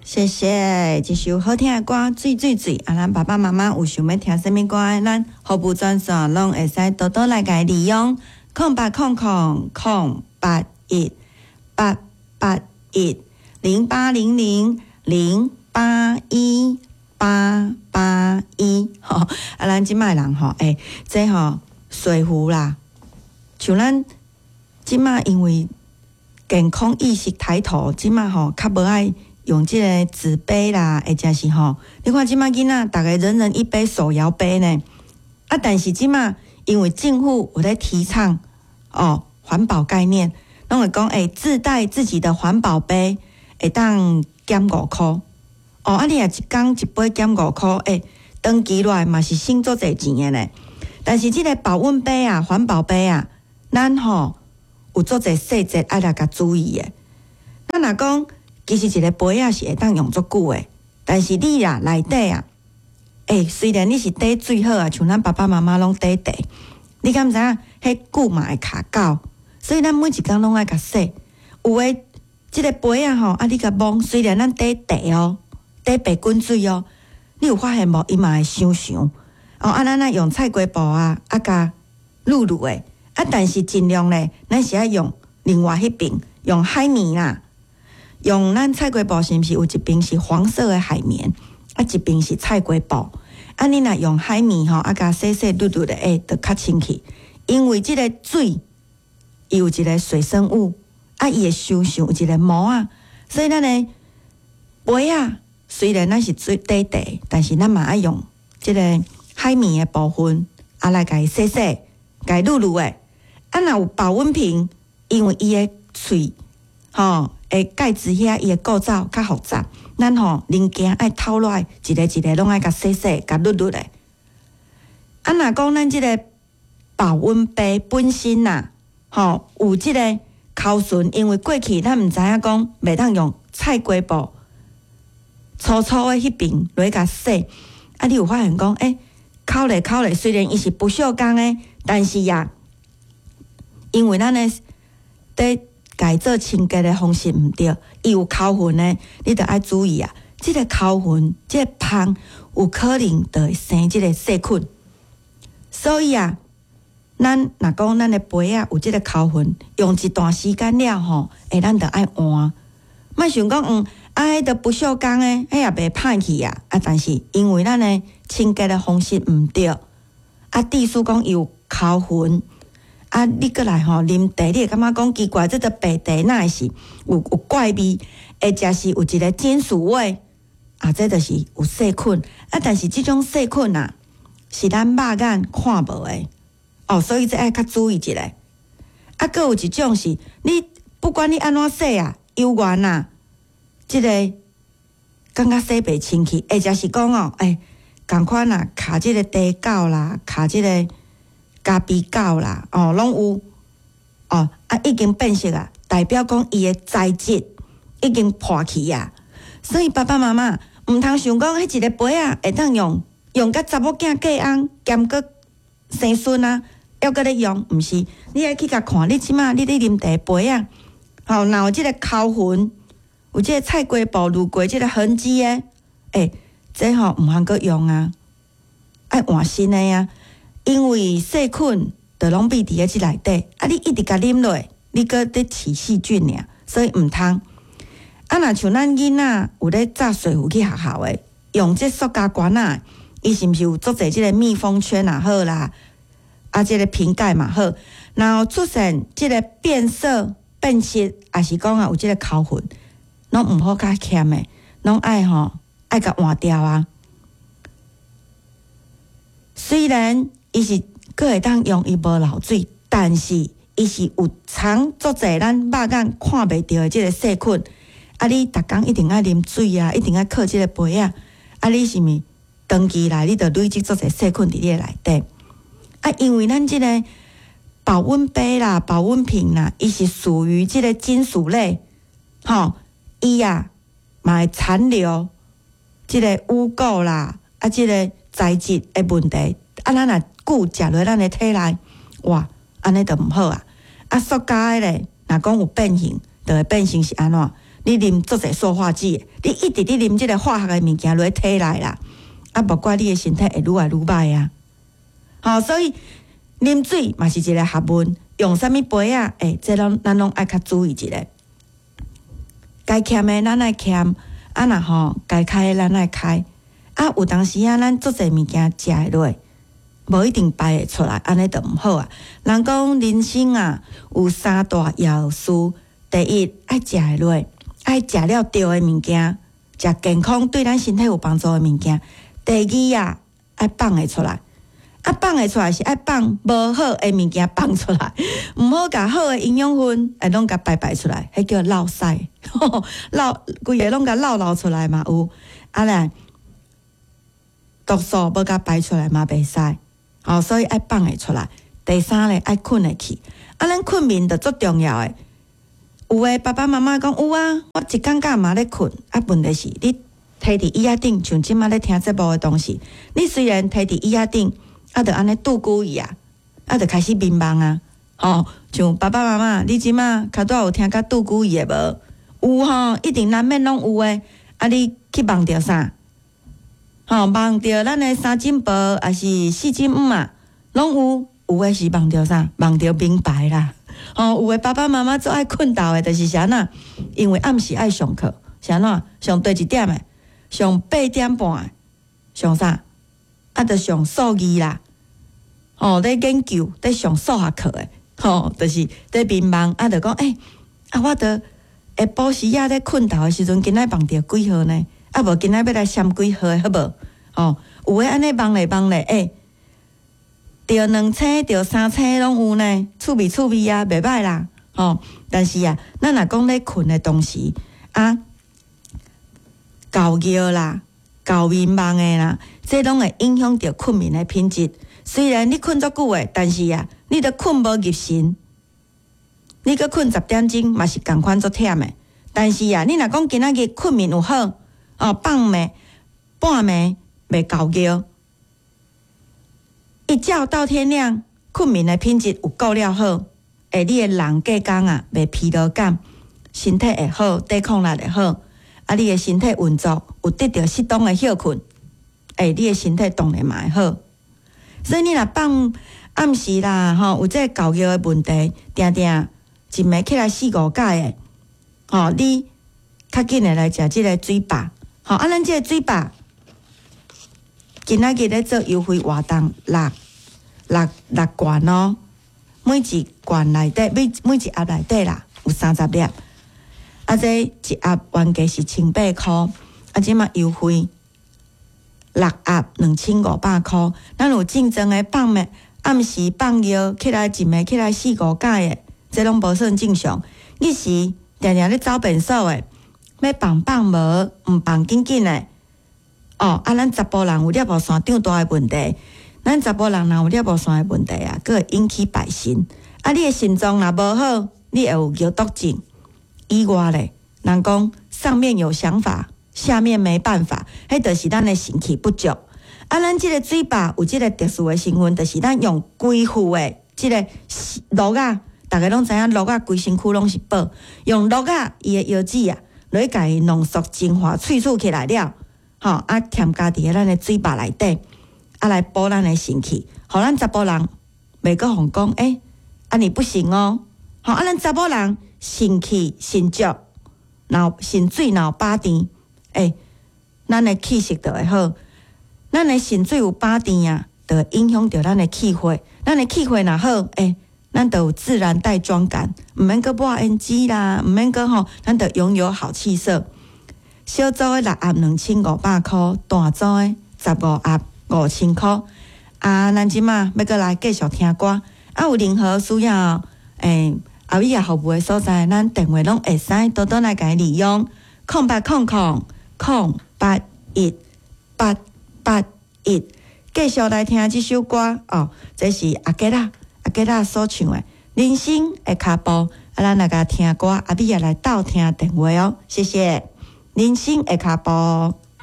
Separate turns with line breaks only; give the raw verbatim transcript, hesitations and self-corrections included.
謝謝，這首好聽的歌《水水水》啊，咱爸爸媽媽有想欲聽啥物歌的，咱服務專線攏會使多多來共利用，空八空空空八一八八一零八零零零八一八八一，吼，啊，咱這擺人吼，欸，這吼水壺啦，像咱這擺因為健康意識抬頭，這擺吼較無愛用這個紙杯啦，或者是吼，你看這擺囡仔，逐个人人一杯手搖杯呢。啊，但是這擺因為政府有咧提倡哦環保概念，攏會講欸自帶自己的環保杯，會當減五箍。哦，啊你若一工一杯減五箍，欸，長期落來嘛是省足濟錢的呢。但是這個保溫杯啊，環保杯啊，咱吼有足濟細節愛來共注意的。咱若講，其實一個杯仔是會當用足久的，但是你啊內底啊，欸，雖然你是底水好啊，像咱爸爸媽媽攏底茶，你敢知影？彼久嘛會卡膠，所以咱每一工攏愛共洗。有的這個杯仔吼，啊你共摸，雖然咱底茶哦，底白滾水哦，你有發現無？伊嘛會傷傷。哦，啊咱愛用菜瓜布啊，啊共漉漉的，啊但是盡量咧，咱是愛用另外彼邊用海綿啦。用咱菜瓜布是毋是有一邊是黃色的海綿，啊一邊是菜瓜布。啊，你若用海綿吼，啊共洗洗漉漉的，欸，就較清氣。因為這個水，伊有一個水生物，啊，伊會傷傷有一個膜仔，所以咱的杯仔雖然咱是水底茶，但是咱嘛愛用這個海綿的部分，啊來共伊洗洗，共伊漉漉的。啊，若有保溫瓶，因為伊的喙，吼，的蓋子遐伊的構造較複雜，咱吼零件愛掏落來，一個一個攏愛共洗洗，共漉漉的。啊，若講咱這個保溫杯本身呐，吼有這個溝痕，因為過去咱毋知影講袂當用菜瓜布粗粗的彼邊來共洗，啊，你有發現講，欸，摳咧摳咧，雖然伊是不鏽鋼的，但是呀，因為咱的佇共做清潔的方式毋對，伊有溝痕的，你著愛注意啊。這個溝痕，這個芳有可能就會生這個細菌。所以啊，咱若講咱的杯仔有這個溝痕，用一段時間了後，欸，咱著愛換。莫想講，嗯，啊，彼著不鏽鋼的，彼也袂歹去啊。啊，但是因為咱的清潔的方式毋對，啊，致使講伊有溝痕。啊，你閣來吼啉茶，你會感覺講奇怪，這著白茶哪會是有有怪味，或者是有一個金屬味，啊，這就是有細菌。啊，但是這種細菌啊，是咱肉眼看無的，哦，所以這愛較注意一下。啊，閣有一種是，你不管你按怎洗啊，猶原啊，這個感覺洗袂清氣，或者是講哦，欸，仝款啊，卡這個茶垢啦，卡這個咖啡垢啦，哦，攏有，哦，啊，已經變色啊，代表講伊的材質已經破去啊。所以爸爸媽媽毋通想講，彼一个杯仔會當用，用甲查某囝過翁，兼閣生孫啊，猶閣咧用，毋是？你愛去共看，你這擺你咧啉茶杯仔，吼，若有這個溝痕，有這個菜瓜布濾過這個痕跡的，欸，這吼毋通閣用啊，愛換新的啊。因為細菌就攏覕佇咧這內底，啊，你一直共啉落，你閣咧飼細菌爾，所以毋通。啊，若像咱囡仔有咧紮水壺去學校的，用這塑膠罐仔，伊是毋是有足濟這個密封圈也好啦，啊，這個瓶蓋嘛好，然後出現這個變色、變色，抑是講啊有這個溝痕，攏毋好較欠的，攏愛吼愛共換掉啊。雖然伊是閣會當用，伊無漏水，但是伊是有藏足濟咱肉眼看袂著的這個細菌。啊，你逐工一定愛啉水啊，一定愛靠這個杯仔。啊，你是毋長期來，你就累積足濟細菌佇你的內底。啊，因為咱這個保溫杯啦、保溫瓶啦，伊是屬於這個金屬類，吼，伊啊嘛會殘留這個污垢啦，啊，這個材質的問題。啊，咱若久食落咱的體內，哇，按呢就毋好啊！啊，塑膠的咧，若講有變形，就會變成是按怎？你啉足濟塑化劑，你一直咧啉這个化學的物件落體內啦，啊，無怪你的身體會愈來愈歹啊！吼，所以啉水嘛是一个學問，用啥物杯仔，欸，這攏咱攏愛較注意一下。該儉的咱愛儉，啊若吼該開的咱愛開。啊，有當時啊，咱足濟物件食會落，無一定排會出來，按呢就毋好啊。人講人生啊，有三大要事：第一，愛食會落，愛食了對的物件，食健康對咱身體有幫助的物件；第二啊，愛放會出來。啊，放會出來是愛放無好的物件放出來，毋好共好的營養分會攏共排排出來，彼叫落屎，漏規个攏共漏漏出來嘛有。啊來，毒素無共排出來嘛袂使，哦，所以愛放會出來。第三咧，愛睏會去。啊，咱睏眠就足重要的。有的爸爸媽媽講有啊，我一工到嘛咧睏。啊，問題是你佇佇椅仔頂，像這馬咧聽節目的當時，你雖然佇佇椅仔頂，啊，就按呢拄久去啊，啊，就開始眠夢啊。吼，像爸爸媽媽，你這馬較拄有聽甲拄久去的無？有吼，一定難免攏有的。啊，你去夢著啥？吼，夢著咱的三更婆，抑是四更姆啊，攏有。有的是夢著啥？夢著名牌啦。吼，有的爸爸媽媽足愛睏沓的，就是啥呐？因為暗時愛上課，是按怎？上佗一點的？上八點半的？上啥？啊，就上數字啦。吼，咧研究，咧上數學課的，吼，就是咧眠夢，啊，就講，欸，啊，我著下晡時仔咧睏沓的時陣，今仔夢著幾號呢？啊，無今仔欲來簽幾號的好無？吼，有的按呢夢咧夢咧，欸，著兩星，著三星攏有呢，趣味趣味啊，袂歹啦，吼。但是啊，咱若講咧睏的當時啊，厚尿啦，厚眠夢的啦，這攏會影響著睏眠的品質。雖然你睏足久的，但是啊，你都睏無入神，你閣睏十點鐘嘛是仝款足忝的。但是啊，你若講今仔日睏眠有好，哦，放暝半暝袂厚尿，一覺到天亮，睏眠的品質有顧了好，欸，你的人過工啊，袂疲勞感，身體會好，抵抗力會好，啊，你的身體運作有得著適當的歇睏，欸，你的身體當然嘛會好。所以你若放暗時啦，吼，有這个厚尿的問題，定定一暝起來四五擺的，吼，你較緊的來食這个水飽，吼，啊，咱這个水飽，今仔日咧做優惠活動，六六六罐哦，每一罐內底每每一盒內底啦有三十粒，啊，這一盒原價是千八箍，啊，這馬優惠六盒兩千五百箍。咱有症狀的放暝暗時放尿起來一暝起來四五擺的，這攏無算正常。日時定定咧走便所的，欲放放無，毋放緊緊的。哦，啊，咱查埔人有尿布腺長大的問題，咱查埔人若有尿布腺的問題啊，閣會引起敗腎。啊，你的腎臟若無好，你會有尿毒症。以外咧，人講上面有想法，下面沒辦法，彼就是咱的腎氣不足。啊，咱這个水飽有這个特殊的成分，就是咱用規副的這个蘆仔，逐家攏知影蘆仔規身軀攏是寶，用蘆仔伊的藥籽啊，來共伊濃縮精華萃取起來了，吼啊，添加佇咱的水飽內底，啊來補咱的腎氣，予咱查埔人袂閣予講，欸，按呢不行哦，吼啊，咱查某人腎氣腎足，若腎水若有飽甜，欸，咱的氣色就會好。咱的腎水有飽甜啊，就會影響著咱的氣血。咱的氣血若好，欸，咱就有自然帶妝感，毋免閣抹胭脂啦，毋免閣吼，咱就擁有好氣色。小組的六盒兩千五百箍，大組的十五盒五千箍。啊，咱這馬欲閣來繼續聽歌。啊，有任何需要，欸，阿米仔服務的所在，咱電話攏會使多多來共伊利用，空八空空空八一八八一。繼續來聽這首歌哦，這是阿杰仔阿杰仔所唱的《人生的跤步》。啊，咱來共聽歌，阿米仔來鬥聽電話哦，謝謝。人生的跤步。